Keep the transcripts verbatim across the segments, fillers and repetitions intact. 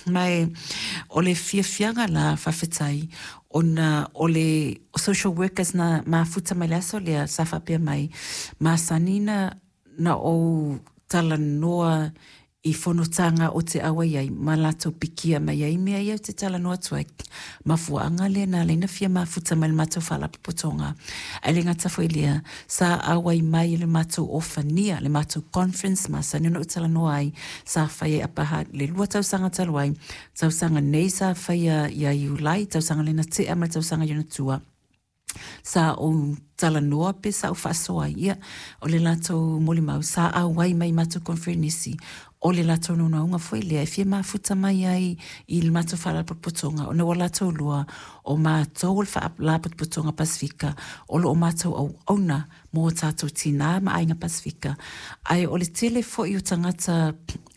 Ma o le fiafiaga la faafetai ona o le social workers na mafuta mai le aso lea sa faapea mai, masani na na ou talanoa i fonotaga o te auai ai ma latou pikia mai ai mea ia ou te talanoa atu ai. Mafuaaga lea na ala ai ona fia mafuta mai le matou faalapotopotoga. Ae le gata foi i lea, sa auai mai i le matou ofania, le matou conference masani ona ou talanoa ai, sa faia i Upper Hutt le lua tausaga talu ai, tausaga nei sa faia ia Iulai, tausaga lea na tea ma le tausaga i ona tua, sa ou talanoa pe sa ou faasoa ai, ia, o le latou molimau, sa auai mai i matou conferenisi, o le latou naunautaiga foi lea e fia mafuta mai ai i le matou faalapotopotoga, ona ua latou iloa o matou o le Faalapotopotoga Pasefika o lo o matou auauna mo tatou tina ma aiga Pasefika. Ae o le tele foi o tagata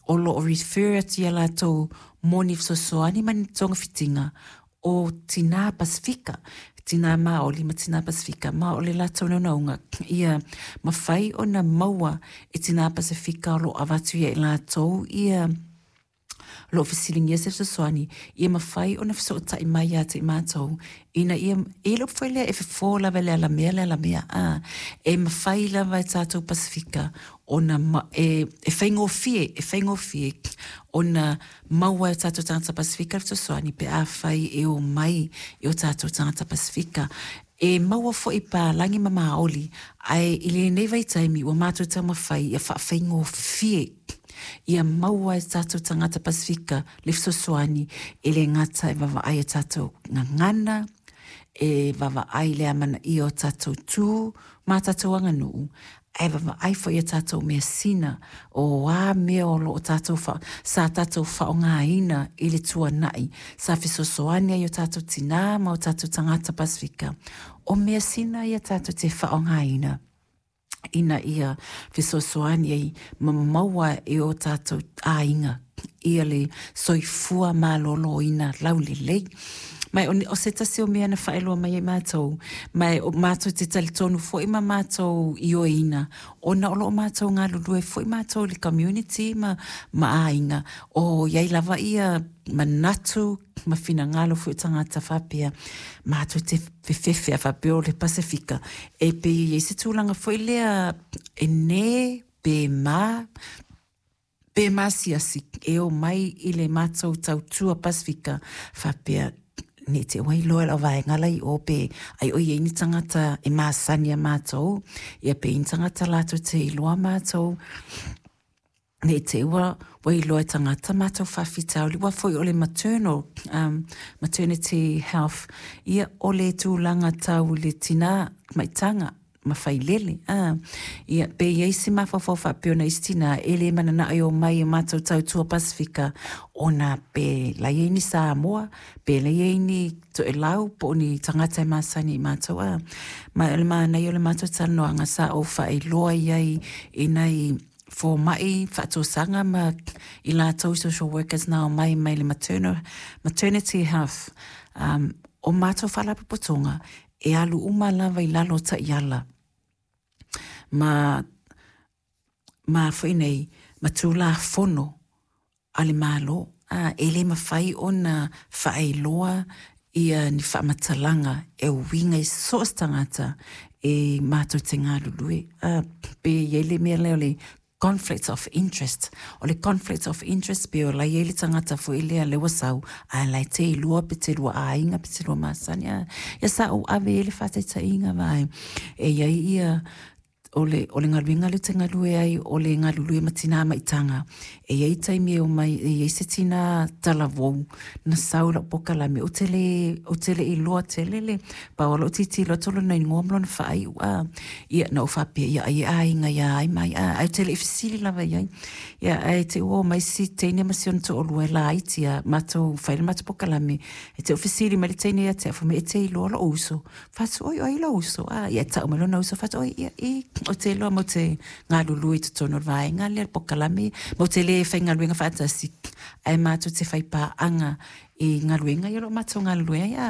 o lo o refer atu ia latou mo ni fesoasoani ma ni togafitiga o tina Pasefika, tina Maoli ma tina Pasefika, ma o le latou naunautaiga ia mafai ona maua e tina Pasefika o lo o avatu ia i latou ia lo o fesiligia se fesoasoani, ia mafai ona fesootai mai ia te i matou, ina ia, e le upu foi lea e fofo lava e le alamea le alamea, a, e mafai lava e tatou Pasefika ona ma, e, e faigofie, e faigofie ona maua e tatou tagata Pasefika le fesoasoani pe afai e o mai i o tatou tagata Pasefika. E maua foi palagi ma maoli, ae i lenei vaitaimi ua matou taumafai ia faafaigofie ia maua e tatou tagata Pasefika le fesoasoani, e le gata e vaavaai i tatou gagana, e vaavaai le amanaia o tatou tu ma tatou aganuu, ae vaavaai foi i tatou measina o a mea o lo o tatou fa, sa tatou faaaogaina i le tuanai, sa fesoasoani ai o tatou tina ma o tatou tagata Pasefika. O measina ia tatou te faaaogaina ina ia fesoasoani ai ma maua e o tatou aiga ia le soifua maloloina laulelei. Ma o se tasi o mea na faailoa mai ai matou, ma o matou te talitonu foi ma matou ioeina, ona o lo o matou galulue foi matou i le community ma, ma aiga, o iai lava ia manatu ma finagalo foi o tagata faapea, matou te fefefe a faapea o le Pasefika, e pei e i ai se tulaga foi lea e nē pe ma, pe masiasi e o mai i le matou tautua Pasefika faapea, ne te ua iloa e lau vaega la i o pe ai o i ai ni tagata e masani a matou, ia pe i ni tagata latou te iloa matou, ne te ua ua iloa e tagata matou faafitauli, ua foi o le maternal, um, maternity health, ia o le tulaga tau i le tina maitaga ma failele. Ah, ia, pe i ai se mafaufau faapea ona isi tina e le mananao e o mai i matou tautua Pasefika, ona pe la i ai ni Samoa, pe la i ai ni Toelau po o ni tagata e masani i matou. Ah. Ma o le manaia o le matou talanoaga sa ou faailoa i ai i nai fomai faatosaga ma i latou social workers na o mai mai le maternal, maternity health. Um, o matou faalapotopotoga e alu uma lava i lalo o taiala ma ma foi nei ma tulafono a le Malo. A, e le mafai ona faailoa ia ni faamatalaga e uiga i so o se tagata e matou te galulue. A, pe i ai le mea lea o le conflict of interest. O le conflict of interest pe o la i ai le tagata foi lea le ua sau, ae la e te iloa pe te lua aiga pe te lua masani. A, ia sa ou ave ai le faataitaiga vae. E i ai ia o le, o le galuega lea ou te galue ai, o le galulue ma tina maitaga. E i ai taimi e o mai, e i ai se tina talavou, na sau i lau pokalame, ou te le, ou te le iloa tele le, pau o lou tilotilo atu o lona igoa ma lona faaiu, a. Ia, na ou faapea, ia, ai e aiga ia ai mai, a, ae ou te le i fesili lava i ai. Ia, ae te ua o mai si teine ma si ona toalua e laiti a, matou fai le matou pokalame, e te o fesili mai le teine ia te au, fai mai, e te iloa lou uso. Fai atu, oi, o ai lou uso, a, ia, e tau mai lona uso, fai atu, oi, ia, i, o te iloa mo te galulue i totonu o le vaega lea le pokalame, mo te le faigaluega faatasi, ae matou te fai paaga i galuega ia o lo o matou galulue ai, a,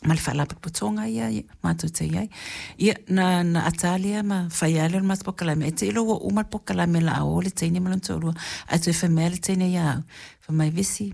ma le faalapotopotoga ia matou te i ai. Ia, na, na ata lea ma fai lea o le matou pokalame, e te iloa ua uma le pokalame la a o le teine ma lona toalua, ae toe fai mai le teine ia au, fai mai, Vesi,